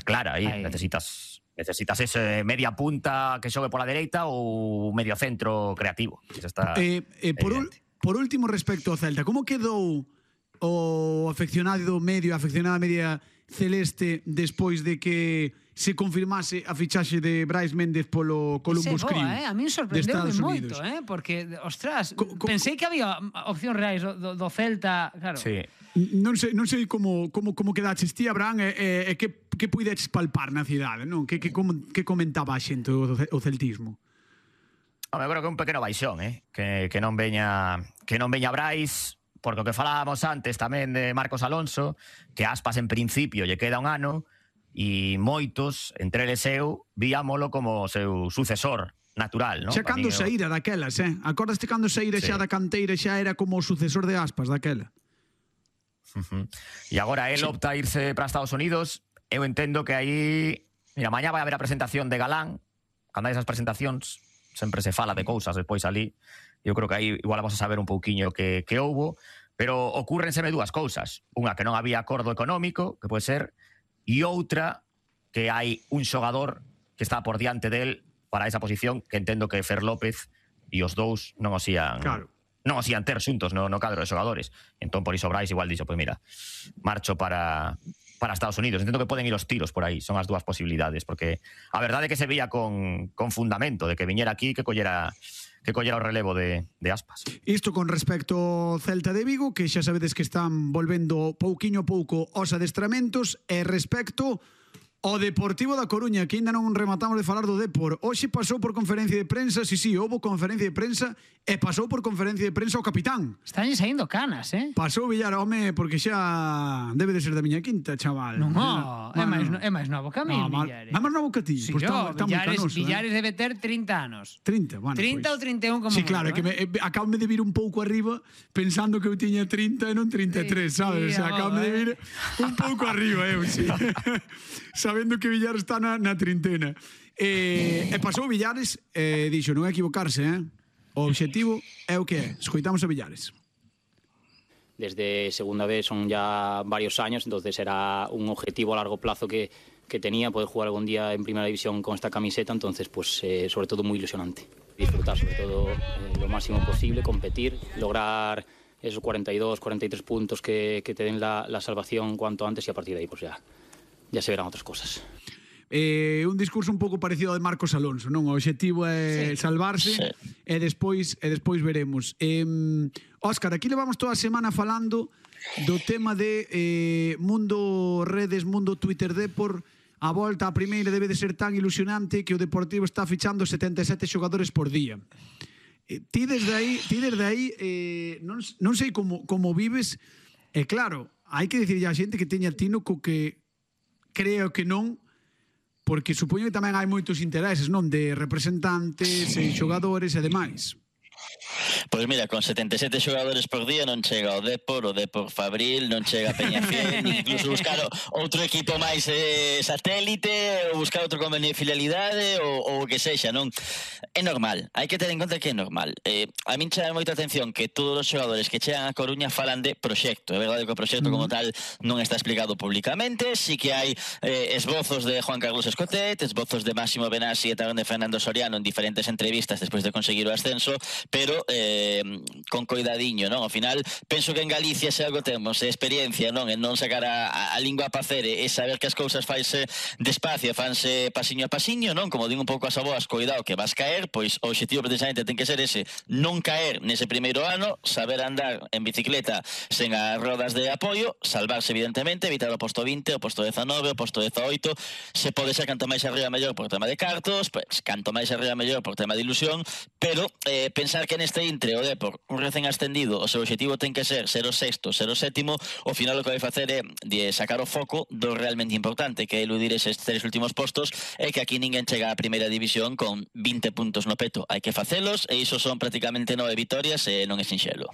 clara aí. Necesitas ese media punta que xogue pola dereita ou medio centro creativo. Por último, respecto ao Celta, como quedou o afeccionado medio, a afeccionada media celeste despois de que se confirmase a fichaxe de Brais Méndez polo Columbus Crew? A mí sorprendeu moito, porque, ostras, pensei que había opcións reais do Celta, claro. Sí. Non sei como quedaches ti, Abraham, e que puideches palpar na cidade, non? Que comentaba a xente o celtismo? Eu creo que é un pequeno baixón, que non veña Brais, porque o que falábamos antes tamén de Marcos Alonso, que Aspas en principio lle queda un ano, e moitos, entre eles eu, víamolo como o seu sucesor natural, non? Xa cando saíra daquelas, Acordaste cando saíra xa da canteira xa era como o sucesor de Aspas daquela? E agora él opta a irse para Estados Unidos. Eu entendo que aí... Mira, mañá vai haber a presentación de Galán. Cando hai esas presentacións sempre se fala de cousas despois ali. Eu creo que aí igual vamos a saber un pouquiño que houbo, pero ocúrrenseme dúas cousas. Unha, que non había acordo económico, que pode ser, e outra, que hai un xogador que está por diante del para esa posición, que entendo que Fer López e os dous non os ian... Claro. Non os ian ter xuntos no cadro de xogadores. Entón, por iso Brais igual dixo, pois mira, marcho para Estados Unidos. Entendo que poden ir os tiros por aí, son as dúas posibilidades, porque a verdade é que se veía con fundamento de que viñera aquí, que collera o relevo de Aspas. Isto con respecto ao Celta de Vigo, que xa sabedes que están volvendo pouquiño a pouco aos adestramentos, e respecto ao Deportivo da Coruña, que ainda non rematamos de falar do Depor. Hoxe pasou por conferencia de prensa, houbo conferencia de prensa, e pasou por conferencia de prensa o capitán. Están saindo canas, Pasou Villar, home, porque xa debe de ser da miña quinta, chaval. Non, é máis novo que a mí, Villares. É máis novo que ti? Sí, Pois está moi canoso. Villares debe ter 30 anos. 30, bueno. 30 ou 31 como sí, claro, que acabame de vir un pouco arriba pensando que eu tiña 30 e non 33, sabes? Acabame de vir un pouco arriba, sí. Sabendo que Villares está na trintena. E pasou Villares, dixo, non é equivocarse, O obxectivo é o que é. Escoitamos a Villares. Desde segunda vez son ya varios años, entonces era un objetivo a largo plazo que tenía, poder jugar algún día en primera división con esta camiseta, entonces pues sobre todo muy ilusionante. Disfrutar sobre todo lo máximo posible, competir, lograr esos 42, 43 puntos que te den la salvación cuanto antes, y a partir de ahí pues ya se verán otras cosas. Un discurso un pouco parecido ao de Marcos Alonso, non? O obxectivo é salvarse, e despois veremos. Óscar, aquí levamos toda a semana falando do tema de mundo redes, mundo Twitter Depor. A volta a primeira debe de ser tan ilusionante que o Deportivo está fichando 77 xogadores por día. Ti desde aí non sei como vives, e claro, hai que dicirlle a xente que teña tino co que creo que non, porque supoño que tamén hai moitos intereses, non, de representantes e xogadores e demais. Pois mira, con 77 xogadores por día non chega o Depor Fabril, non chega a Peñafiel, incluso buscar outro equipo máis satélite, ou buscar outro convenio de filialidade, ou o que sexa, non? É normal, hai que ter en conta que é normal. A min chama moita atención que todos os xogadores que chegan a Coruña falan de proxecto. É verdade que o proxecto como tal non está explicado públicamente, si que hai esbozos de Juan Carlos Escotet, esbozos de Máximo Benassi e tamén de Fernando Soriano en diferentes entrevistas despois de conseguir o ascenso, pero con coidadiño, non? Ao final, penso que en Galicia se algo temos experiencia, non? En non sacar a lingua a pacer e saber que as cousas faise despacio, fanse pasiño a pasiño, non? Como din un pouco as aboas, coidado que vas caer, pois o obxectivo precisamente ten que ser ese, non caer nese primeiro ano, saber andar en bicicleta sen as rodas de apoio, salvarse evidentemente, evitar o posto 20, o posto 19, o posto 18, se pode ser canto máis arriba mellor por tema de cartos, pois canto máis arriba mellor por tema de ilusión, pero pensar que neste intre o Depor, un recén ascendido, o seu objetivo ten que ser o sexto, ser o sétimo, ao final o que vai facer é de sacar o foco do realmente importante, que é eludir eses 3 últimos postos, e que aquí ninguén chega á primeira división con 20 puntos no peto. Hai que facelos, e iso son prácticamente 9 vitorias, e non é sinxelo.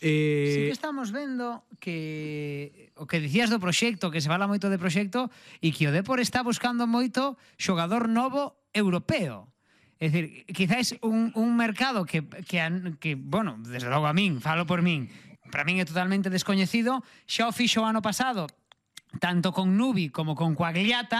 Sí que estamos vendo que o que dicías do proxecto, que se fala moito de proxecto, e que o Depor está buscando moito xogador novo europeo. É dicir, quizás un mercado que, bueno, desde logo a min, falo por min, para min é totalmente descoñecido, xa o fixo o ano pasado, tanto con Nubi como con Coagliata,